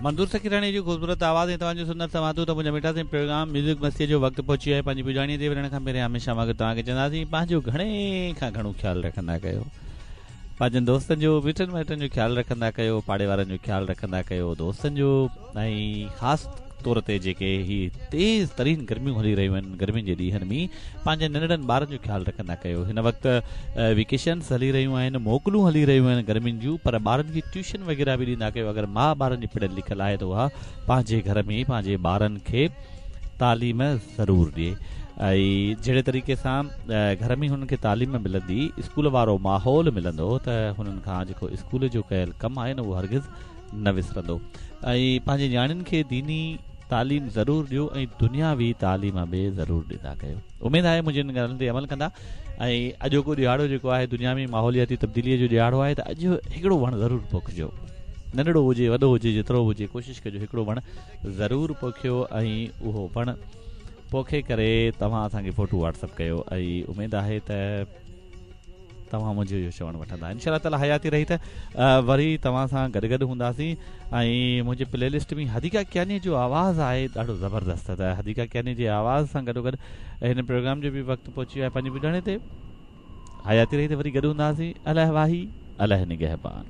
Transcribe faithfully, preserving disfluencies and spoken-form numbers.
منظور سکيراڻي جو خوبصورت آواز ۽ توهان جو سندر سماعتون ته منهنجا مٺا سائين پروگرام ميوزڪ مستيء جو وقت پهچي ويو آهي. پنهنجي پڄاڻيء تي وڃڻ کان پهريان هميشه وانگر توهان کي چونداسين پنهنجو گهڻي کان گهڻو خيال رکندا ڪيو، پنهنجن دوستن جو مٽن مائٽن جو خيال رکندا ڪيو، پاڙي وارن جو خيال رکندا ڪيو، دوستن جو ۽ خاص طور تي جيڪي هي تيز ترين گرميون هلي رهيون آهن گرمين جي ڏينهن ۾ پنهنجي ننڍڙن ٻارن جو خيال رکندا ڪيو. هن وقت ويڪيشنس هلي رهيون آهن، موڪلون هلي رهيون آهن گرمين جون، پر ٻارن کي ٽيوشن وغيره به ڏيندا ڪيو. اگر ماء ٻارن جي پڙهيل لکيل آهي ته اها پنهنجي گهر ۾ پنهنجي ٻارن کي تعليم ضرور ڏئي ۽ جهڙي طريقي سان گهر ۾ هنن کي تعليم ملندي، اسڪول وارو ماحول ملندو ته هنن کان جيڪو اسڪول جو ڪيل ڪم آهي نه اهو هرگز نه وسرندو. ۽ پنهنجي نياڻين کي ديني تعليم ضرور ڏيو ۽ دنياوي تعليم به ضرور ڏيندا ڪيو. اميد آهي منهنجي ان ڳالهين تي عمل ڪندا. ۽ اڄوڪو ڏهاڙو جيڪو آهي دنيا ۾ ماحولياتي تبديليء جو ڏهاڙو آهي ته اڄ هڪڙو وڻ ضرور پوکجو، ننڍڙو هجي وڏو هجي جيترو هجي ڪوشش ڪجو هڪڙو وڻ ضرور پوکيو ۽ اهو وڻ پوکي ڪري توهان اسان کي فوٽو واٽس اپ ڪيو ۽ اميد آهي ته توهان منهنجو اهو چوڻ وٺندا. انشاء الله تعالي حياتي رهي ته وري توهان سان گڏ گڏ هونداسين. ۽ منهنجي پلي لسٽ ۾ حديقه ڪياني جو آواز آهي ڏاڍو زبردست، ته حديقه ڪياني جي آواز سان گڏو گڏ هن پروگرام جو به وقت پهچي ويو آهي پنهنجي پڄاڻي تي. حياتي رهي ته وري گڏ هونداسين. الله واهي الله نگهبان.